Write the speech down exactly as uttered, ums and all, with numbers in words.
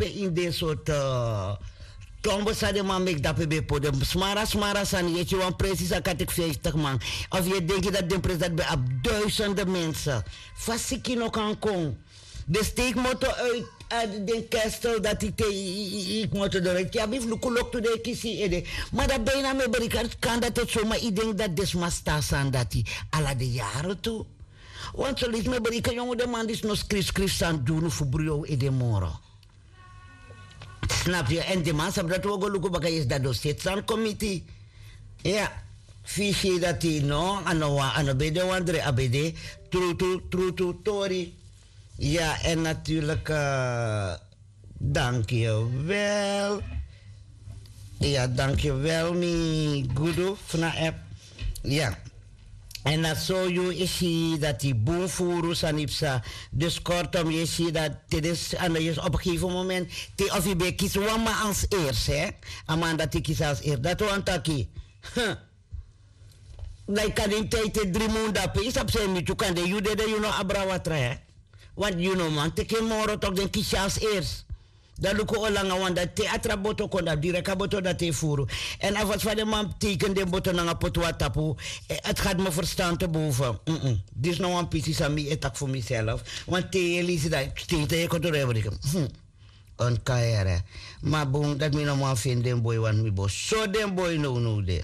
pe ini den sortu tombo san den man meki dape ben poti den smara smara sani yu e si wan presi san kan teki vijftig man. Of yu e denki dati den presi dati ben abi duisende mense fa siki no kan kon. Den steiki moto uit den kestel dati te yu kmoto doro yu abi fu luku loktu den e kisi yu ede. Ma dati beina mi e berika kan dati eti soma yu denki dati den sma sta sani dati ala den yaren tu. Want so lesi mi e berika yongu den man disi no skrifskrifi sani du unu fu bruyo ede moro. Snap yu èn di man sabi dati wi o go luku baka yesi dati den o seti san komiti. Ya. Fu yu si dati no a no wan a no ben de wan dre a ben de. Trutu trutu tori. Ya èn naturlik. Danki yu wel. Ya danki yu wel mi gudu fu na app. Ya. Èn na so yu e si dati bun furu sani psa. Dus kortom yu e si dati te den sani na yu e si op en gegeven moment te of yu ben e kisi wan man ansi ersi a man dati e kisi ansi ersi dati wani taki. Dan yu kan den taiti e dri mun dape yu sabi san yu miti yu kan de yu dede yu no abra watra. Want yu no man teki en moro toki den kisi ansi ersi. Dan luku o langa wan dati te a tra boto kon dati direk a boto dati e furu. Èn a fasi fa den man teikeni den boto nanga poti wan tapu. Ati gati mi ferstan te boven. Disi no wan pisi san mi e taki fu miself. Wan te yu e lisi dan stei te yu e kon turu e briki. Wan kan yere. Ma bun dati mi no man feni den boi wani mi bo so den boi nownow de.